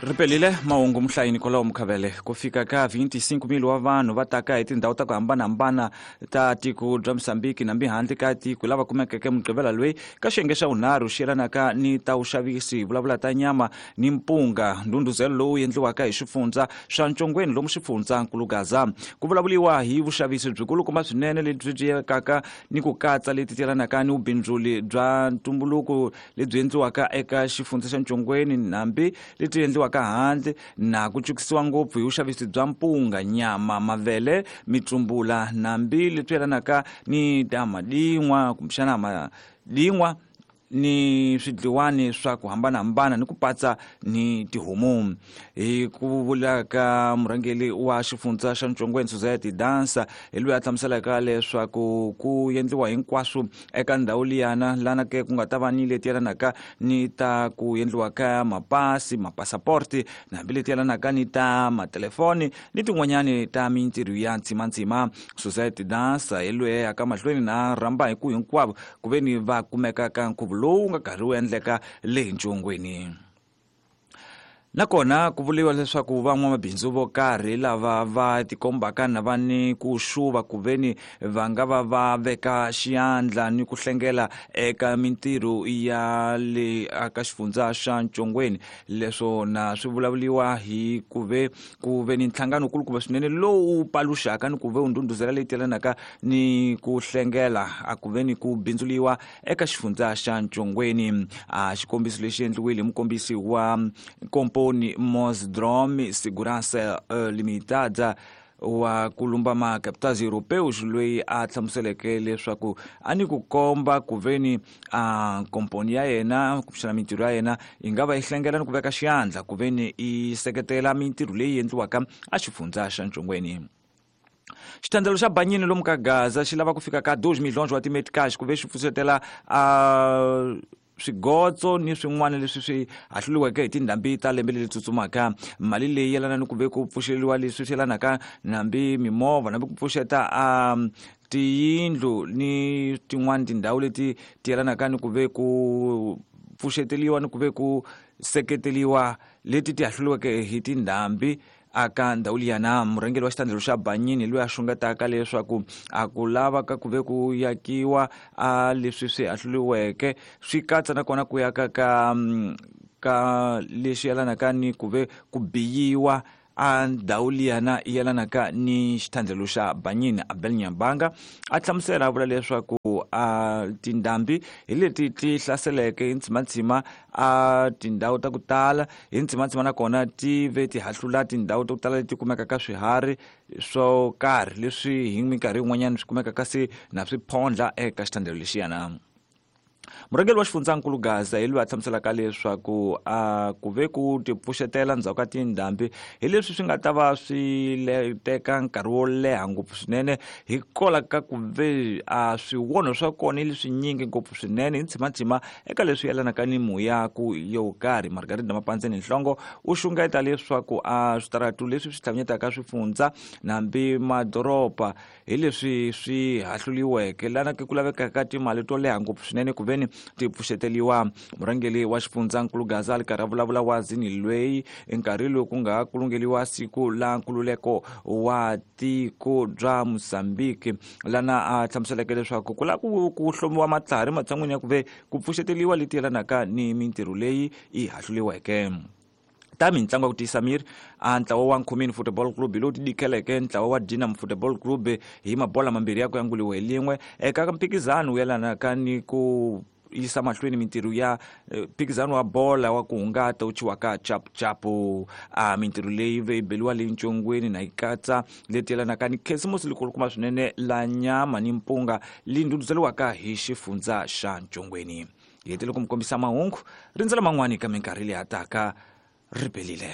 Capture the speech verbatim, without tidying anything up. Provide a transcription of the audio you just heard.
Ripelile mahungu muhlayini kwalaho Mukhavele ku fika ka vinte e cinco mil wa vanhu va taka hi tindhawu ta ku hambanahambana ta tiko bya Mozambique nambi handle ka tiko lava kumekeke Mugqivela loyi ka xiyenge xa vunharhu xi yelanaka ni ta vuxavisi hi vulavula ta nyama ni mpunga ndhundhuzelo lowu endliwaka hi xifundza swa Ntshongweni lomu xifundzankulu Gaza ku vulavuriwa hi vuxavisi byikulukumba swinene lebyi byi yekaka ni ku katsa leti yelanaka ni vubindzuli bya ntumbuluko lebyi endliwaka eka xifundza xa Ntshongweni nambi leti endliwaka handle na ku cukisiwa ngopfu hi vuxavisi bya mpunga nyama mavele mitsumbula nambi leswi yelanaka ni ta madin'wa kumbexana madin'wa ni swidliwani swa ku hambanahambana ni ku patsa ni tihomu. Hi ku vula ka murhangeri wa xifundza xa Ntshongweni Society Dansa hi loyi a hlamuselaka leswaku ku endliwa hinkwaswo eka ndhawu liyana lana ke ku nga ta va ni leti yelanaka ni ta ku endliwa ka mapasi mapasaporti na hambi leti yelanaka ni ta matelefoni ni tin'wanyani ta mintirho ya ntsimantsima. Society Dansa hi loyi a yaka mahlweni na rhamba hi ku hinkwavo ku ve ni va kumeka ka nkhuvo lowu nga karhi wu endleka le Ntshongweni. Nakona ku vuriwa leswaku van'wamabindzu vo karhi lava va tikombaka na va ni ku xuva ku veni va nga va va veka xiyandla ni ku hlengela eka mintirho ya le aka xifundza xa Ntshongweni leswo na swi vulavuriwa hi ku ve ku ve ni nhlangano kulukumba swinene lowu paluxaka ni ku ve wu ndhundhuzela leyi telanaka ni ku hlengela a ku ve ni ku bindzuliwa eka xifundza xa Ntshongweni. A xikombiso lexi endliwile hi mukombisi wa kompo Mosdrom Segurança Limitada wa ku lumba macapitais europeus loyi a hlamuseleke leswaku a ni ku komba ku veni a komponi ya yena kumbexana mintirho ya yena yi nga va yi hlengela ni ku veka xiyandla ku veni yi seketela mintirho leyi endliwaka a xifundza xa Ntshongweni. Xithandzelo xa Banyini lomu ka Gaza xi lava ku fika ka dois milhões wa timetcash ku ve xi pfuxetela a swigotso ni swin'wana leswi swi hahluliweke hi tindhambi ta lembe leri tsutsumaka. Mali leyi yelana ni ku ve ku pfuxeliwa leswi swi yelanaka nambi mimovha nambi ku pfuxeta a tiyindlu ni tin'wani tindhawu leti ti yelanaka ni ku ve ku pfuxeteliwa ni ku ve ku seketeliwa leti ti hahluliweke hi tindhambi aka ndhawu liyana. Murhangeri wa xitandlelo xa Banyini loyi a xungetaka leswaku a ku lava ka ku ve ku yakiwa a leswi swi hahluliweke swi katsa nakona ku yaka ka ka leswi yelanaka ni ku ve ku biyiwa a ndhawu liyana yelanaka ni xithandlelo xa Banyini. Abel Nyabanga a hlamusela a vula leswaku a tindhambi hi leti ti hlaseleke hi ntsimantsima a tindhawu ta ku tala hi ntsimantsima nakona ti ve ti hahlula tindhawu ta ku tala leti kumekaka swiharhi swo karhi leswi hi minkarhi yin'wanyana swi kumekaka se na swiphondla eka xithandlelo lexiyana. Murhangeri wa xifundzankulu Gaza hi loyi a hlamuselaka leswaku a ku ve ku tipfuxetela ndzhaku ka tindhambi hi leswi swi nga ta va swi teka nkarhi wo leha ngopfu swinene hikwalaho ka ku ve a swiwonho swa kona hi leswinyingi ngopfu swinene hi ntsimantsima eka leswi yelanaka ni muyaku yo karhi. Margarida Mapandzeni Nhlongo u xungeta leswaku a switaratu leswi swi hlanganyetaka swifundza nambi madoroba hi leswi swi hahluliweke lana ku lavekaka timali to leha ngopfu swinene ku veni ti pfuxeteliwa. Murhangeri wa xifundzankulu Gaza a ri karhi a vulavula wazini loyi nkarhi lowu ku nga kulungeliwa siku la nkululeko wa tiko bya Mozambique lana a hlamuseleke leswaku ku lava ku ku hlomiwa matlhari matshan'wini ya ku ve ku pfuxeteliwa leti yelanaka ni mintirho leyi yi hahluliweke. Ta mitlangu ya ku tiyisa miri a ntlawa wa Nkhumini Football Club lowu tidikeleke ntlawa wa Dinam Football Club hi mabola mambirhi ya ku yanguliwa hi lin'we eka mphikizano wu yelanaka ni ku yisa mahlweni mintirho ya mphikizano wa bola wa ku hungata wu chiwaka chapuchapu. A mintirho leyi ve yi beliwa leyi Ntshongweni na yi katsa leti yelanaka ni khisimusi likulukumba swinene la nyama ni mpunga leyi ndhundhuzeliwaka hi xifundza xa Ntshongweni. Hi hetele ku mi kombisa mahungu rindzela man'wani ka minkarhi leyi hataka. Ripelile.